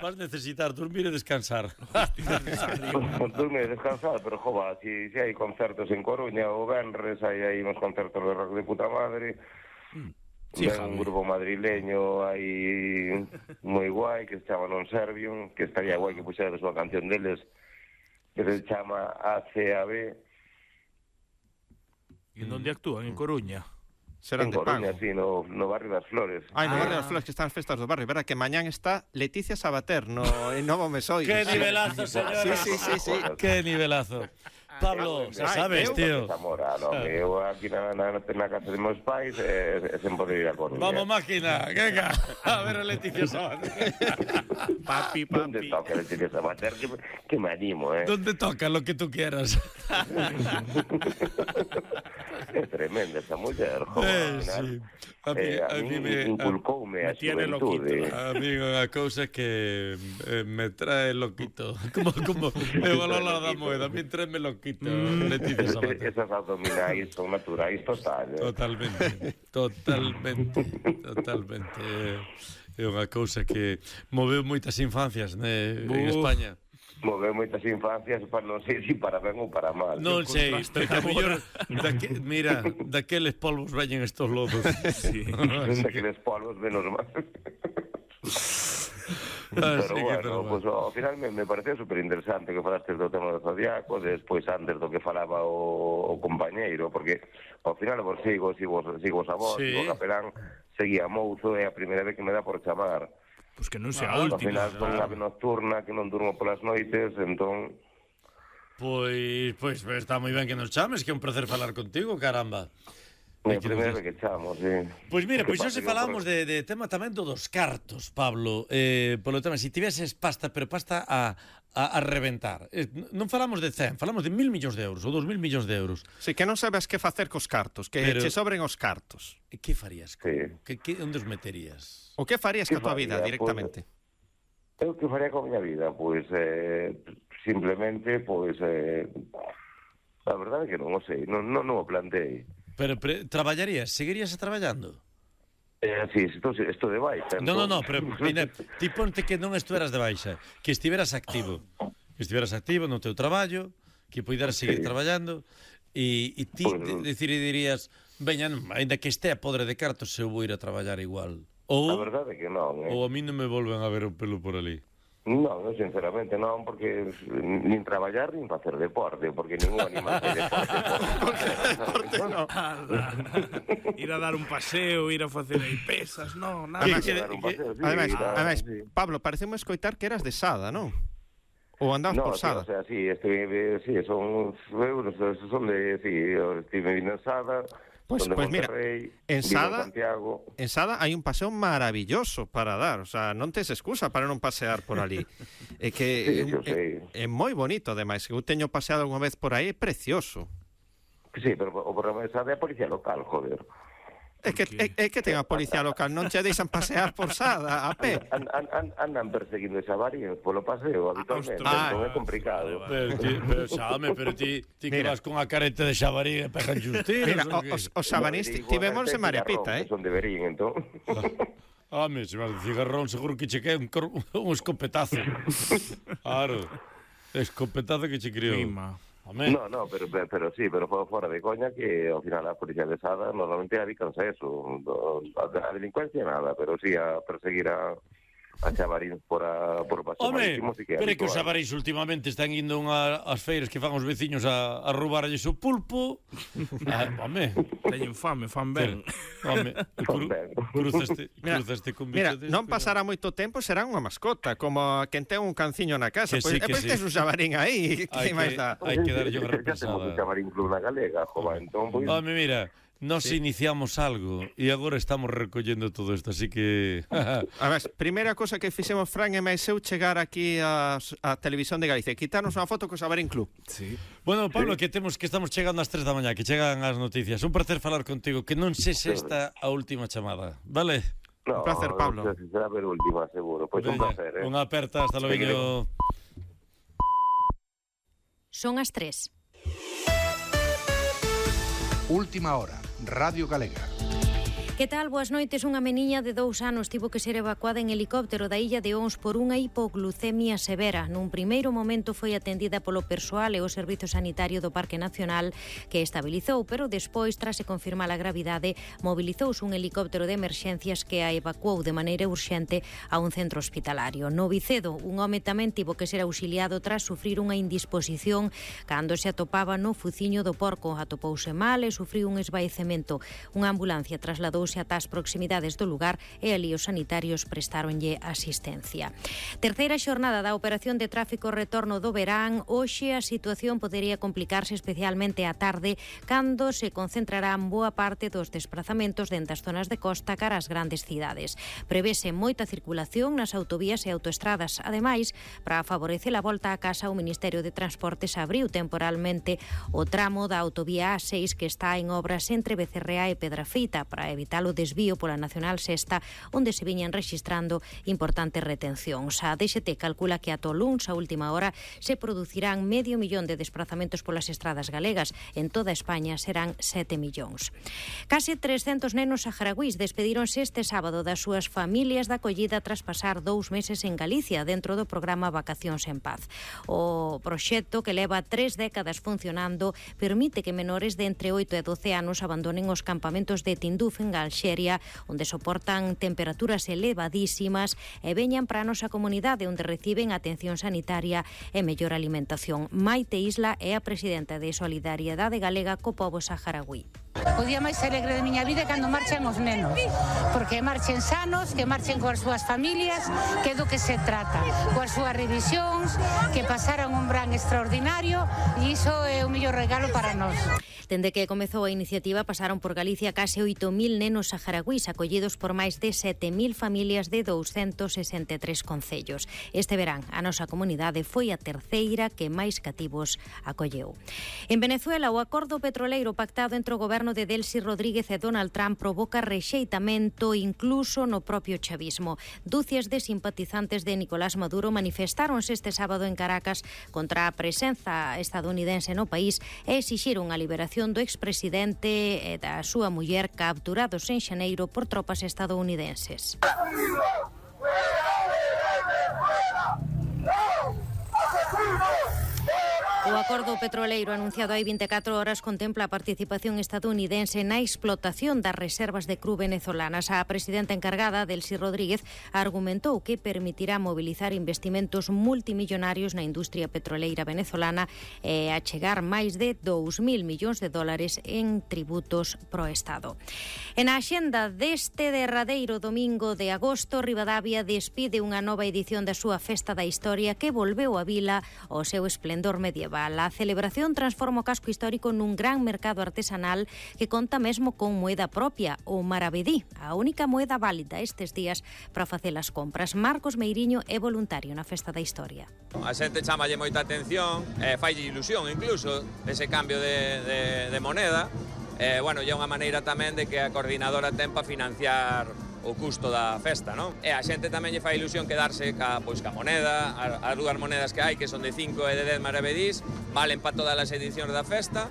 Vas necesitar dormir e descansar. Dormir e descansar, pero jova, si hai concertos en Coruña o venres, hai uns concertos de rock de puta madre. Sí, un grupo madrileño aí moi guai que se chama Non Servium, que estaría guai que puxera a súa canción deles, que se chama ACAB. E onde actúan? En Coruña? Serán En de Coruña, pago. sí, no Barrio das Flores. Ai, no Barrio das Flores, que están as festas do barrio. Verá que mañán está Leticia Sabater en Novo Mesoiro. ¡Qué nivelazo, señores! Sí. ¡Qué nivelazo! Pablo, se sabes, tío. Zamora, no, eu aquí na casa de meus pais sen poder ir a Coruña. Vamos, máquina, venga, a ver a Leticia Sabater. Papi. ¿Dónde toca Leticia Sabater? Que me animo, ¿Dónde toca lo que tú quieras? É tremenda esa muller, joder. Sí. A mí me inculcoume a xuventude. Amigo, a cousa que me trae loquito. Como eu a Lola da Moeda, a mí traeme loquito. Leticia Sabater. Esas abdominais son naturais total. Totalmente. É unha cousa que moveu moitas infancias en España. Moveu moitas infancias, para non sei se para ben ou para mal. Non sei, pero que a mellor mira, daqueles polvos veñen estos lodos. Sí. Daqueles polvos menos mal. Pero bueno, pues, ao final me pareceu superinteresante que falastes do tema do Zodiaco, despois antes do que falaba o compañeiro, porque ao final vos sigo a vos, sí. o Capelán seguía Mouzo, é a primeira vez que me dá por chamar. Pois que non sea a Ao última. final son unha ave nocturna que non durmo polas noites, entón... Pois está moi ben que nos chames, que é un placer falar contigo, caramba. É a primeira vez que chamo, sí. Pois mira, pois hoxe falamos de tema tamén dos cartos, Pablo. Polo tema, se tiveses pasta, pero pasta a reventar. Non falamos de 100, falamos de 1.000 millóns de euros ou 2.000 millóns de euros. Sí, que non sabes que facer cos cartos, que che sobren os cartos. E que farías? Sí. Onde os meterías? O que farías ca tua vida directamente? Eu que faría con a miña vida? Pois, simplemente, pois, a verdade é que non o sei, non o plantei. Pero traballarías? Seguirías traballando? Sí, isto de baixa. No, pero mira, ti ponte que non estuveras de baixa, que estiveras activo. Que estiveras activo no teu traballo, que poideras seguir traballando, e ti decidirías, veña, ainda que estea podre de cartos, eu vou ir a traballar igual. A verdade é que non, Ou a mí non me volven a ver o pelo por ali. Non, sinceramente non, porque nin traballar nin facer deporte, porque ningún animal fai deporte. No. Ir a dar un paseo, ir a facer aí pesas, non, nada. Ademais, Pablo, parecemos escoitar que eras de Sada, non? Ou andabas por Sada? No, o sea, sí, son de, estive vindo en Sada. Pues mira, en Sada hai un paseo maravilloso para dar, o sea, non tes excusa para non pasear por ali. É que é moi bonito, ademais, que eu teño paseado unha vez por aí, é precioso. Sí, pero o problema de Sada é a policía local, joder. É que ten a policía local, non che deixan pasear por Sada a pé. Andan perseguindo xabarín polo paseo habitualmente, non é complicado. Pero ti que vas con a careta de xabarín e pegan justinos. Mira, os xabarís tivemos en María Pita, Son de Berín, entón. Se vas de cigarrón seguro que che queda un escopetazo. Claro, escopetazo que che criou. No, pero sí, pero fora de coña que ao final a policía de Sada normalmente dedicanse a eso, a delincuencia nada, pero sí a perseguir a xabarín por paseo marítimo. Pero é que os xabaríns últimamente están indo ás feiras que fan os veciños a roubarlles o pulpo. Teñen fame, fan ben. Cruzaste con bicho deste. Mira, non pasará moito tempo, será unha mascota, como quen ten un canciño na casa. Pois tes un xabarín aí, que máis dá? Hai que darlle unha repensada. Já temos un xabarín club na galega, jova, entón... Mira, nos iniciamos algo e agora estamos recollendo todo isto, así que... A ver, primeira cosa que fixemos Fran e máis eu chegar aquí a Televisión de Galicia, quitarnos unha foto co Xabarín Club. Sí. Bueno, Pablo, que estamos chegando ás 3 da mañá, que chegan as noticias. Un placer falar contigo, que non se esta a última chamada, vale? Un placer, Pablo. Será a última, seguro. Pois un placer, Unha aperta, hasta logo. Son as 3. Última hora, Radio Galega. Que tal? Boas noites. Unha meniña de 2 anos tivo que ser evacuada en helicóptero da illa de Ons por unha hipoglucemia severa. Nun primeiro momento foi atendida polo persoal e o Servizo Sanitario do Parque Nacional, que estabilizou, pero despois, tras se confirmar a gravidade, mobilizouse un helicóptero de emerxencias que a evacuou de maneira urxente a un centro hospitalario. No Vicedo, un home tamén tivo que ser auxiliado tras sufrir unha indisposición cando se atopaba no fuciño do porco. Atopouse mal e sufriu un esvaecemento. Unha ambulancia trasladouse ata as proximidades do lugar e ali os sanitarios prestáronlle asistencia. Terceira xornada da operación de tráfico retorno do verán. Hoxe a situación podería complicarse especialmente á tarde, cando se concentrarán boa parte dos desplazamentos dende as zonas de costa cara ás grandes cidades. Prevese moita circulación nas autovías e autoestradas. Ademais, para favorecer a volta a casa, o Ministerio de Transportes abriu temporalmente o tramo da autovía A6 que está en obras entre Becerrea e Pedrafita para evitar o desvío pola Nacional Sexta, onde se viñan rexistrando importantes retencións. A DXT calcula que ata o luns, a última hora, se producirán 500.000 de desplazamentos polas estradas galegas. En toda España serán 7 millóns. Case 300 nenos saharauís despedíronse este sábado das súas familias da acollida tras pasar 2 meses en Galicia dentro do programa Vacacións en Paz. O proxecto, que leva 3 décadas funcionando, permite que menores de entre 8 e 12 anos abandonen os campamentos de Tinduf en Alxeria, onde soportan temperaturas elevadísimas, e veñan para a nosa comunidade, onde reciben atención sanitaria e mellor alimentación. Maite Isla é a presidenta de Solidariedade Galega co pobo saharaui. O día máis alegre da miña vida é cando marchan os nenos, porque marchen sanos, que marchen coas súas familias, que é do que se trata, coas súas revisións, que pasaran un verán extraordinario, e iso é o mellor regalo para nós. Dende que comezou a iniciativa, pasaron por Galicia case 8.000 nenos saharauís, acollidos por máis de 7.000 familias de 263 concellos. Este verán, a nosa comunidade foi a terceira que máis cativos acolleu. En Venezuela, o acordo petroleiro pactado entre o goberno de Delcy Rodríguez e Donald Trump provoca rexeitamento incluso no propio chavismo. Dúcias de simpatizantes de Nicolás Maduro manifestáronse este sábado en Caracas contra a presenza estadounidense no país e exixiron a liberación do expresidente e da súa muller capturados en xaneiro por tropas estadounidenses. O acordo petroleiro anunciado hai 24 horas contempla a participación estadounidense na explotación das reservas de cru venezolanas. A presidenta encargada, Delcy Rodríguez, argumentou que permitirá mobilizar investimentos multimillonarios na industria petroleira venezolana e achegar máis de 2.000 millóns de dólares en tributos pro Estado. En a axenda deste derradeiro domingo de agosto, Ribadavia despide unha nova edición da súa Festa da Historia que volveu a vila ao seu esplendor medieval. A celebración transforma o casco histórico nun gran mercado artesanal que conta mesmo con moeda propia, o maravedí, a única moeda válida estes días para facer as compras. Marcos Meiriño é voluntario na Festa da Historia. A xente chamalle moita atención, faille ilusión incluso ese cambio de moneda. Bueno, é unha maneira tamén de que a coordinadora ten para financiar o custo da festa, non? E a xente tamén lle fai ilusión quedarse ca moneda, as dúas monedas que hai, que son de 5 e de 10 maravedís, valen para todas as edicións da festa.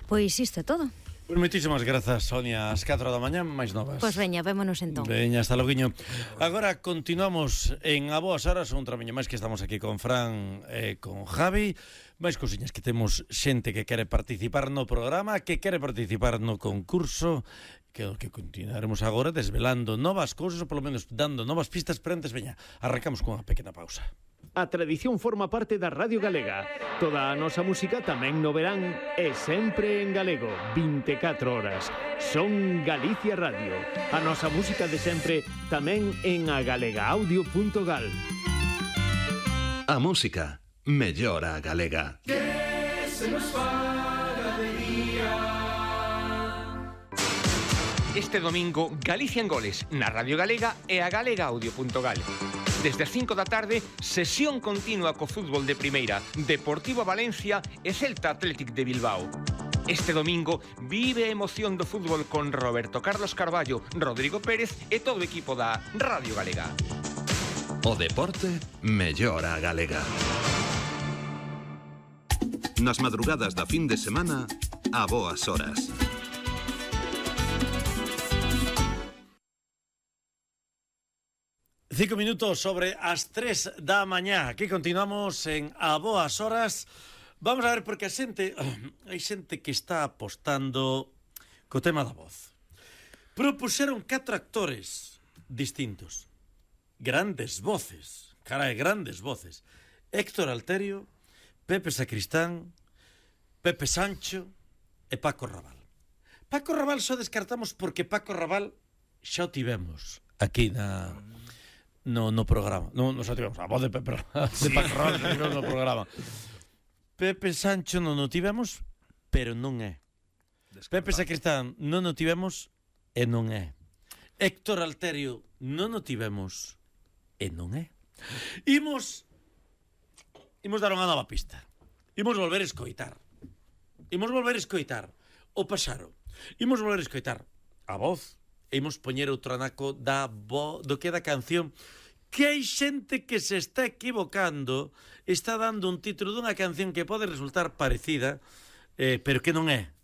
Pois isto é todo. Pues moitísimas grazas, Sonia. As 4 da mañá, máis novas. Pois veña, vémonos entón. Veña, hasta loguiño. Agora continuamos en A Boas Horas, un tramiño máis que estamos aquí con Fran e con Javi. máis cousiñas, que temos xente que quere participar no programa, que quere participar no concurso, que continuaremos agora desvelando novas cousas, ou polo menos dando novas pistas, pero antes, veña, arrancamos con unha pequena pausa. A tradición forma parte da Radio Galega. Toda a nosa música tamén no verán e sempre en galego, 24 horas. Son Galicia Radio. A nosa música de sempre tamén en agalegaudio.gal. A música mellora a galega. Que se nos faga de día. Este domingo, Galicia en Goles, na Radio Galega e a agalegaudio.gal. Desde as 5 da tarde, sesión continua co fútbol de primeira, Deportivo Valencia e Celta Athletic de Bilbao. Este domingo vive a emoción do fútbol con Roberto Carlos Carballo, Rodrigo Pérez e todo o equipo da Radio Galega. O deporte mellora a galega. Nas madrugadas da fin de semana, a boas horas. 5 minutos sobre as 3 da mañá. Aquí continuamos en A Boas Horas. Vamos a ver, porque hai xente que está apostando co tema da voz. Propuxeron 4 actores distintos. Grandes voces. Carai, grandes voces. Héctor Alterio, Pepe Sacristán, Pepe Sancho e Paco Raval. Paco Raval só descartamos porque Paco Raval xa o tivemos aquí no programa. Non xa tivemos a voz de Pepe de Paco Raval no programa. Pepe Sancho non o tivemos, pero non é. Pepe Sacristán non o tivemos e non é. Héctor Alterio non o tivemos e non é. Imos dar unha nova pista. Imos volver a escoitar. Imos volver a escoitar o Paxaro. Imos volver a escoitar a voz. E imos poñer outro anaco do que da canción, que hai xente que se está equivocando, está dando un título dunha canción que pode resultar parecida, pero que non é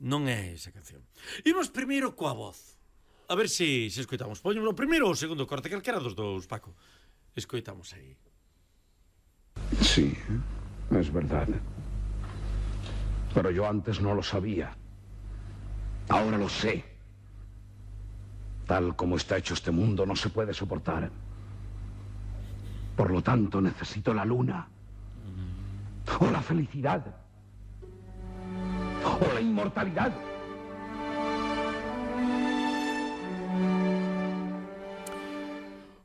esa canción. Imos primeiro coa voz. A ver se escoitamos. Poñemos o primeiro ou o segundo corte, calquera dos dous, Paco. Escoitamos aí. Sí, es verdad. Pero yo antes no lo sabía. Ahora lo sé. Tal como está hecho este mundo, no se puede soportar. Por lo tanto, necesito la luna. O la felicidad. O la inmortalidad.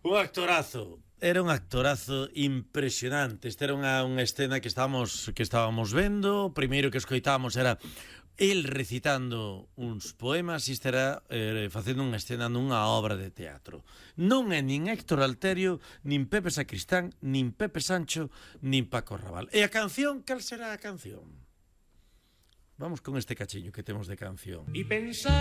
Un actorazo. Era un actorazo impresionante. Esta era unha escena que estábamos vendo. O primeiro que escoitamos era el recitando uns poemas, e estará facendo unha escena nunha obra de teatro. Non é nin Héctor Alterio, nin Pepe Sacristán, nin Pepe Sancho, nin Paco Raval. E a canción, cal será a canción? Vamos con este cachiño que temos de canción. Y pensar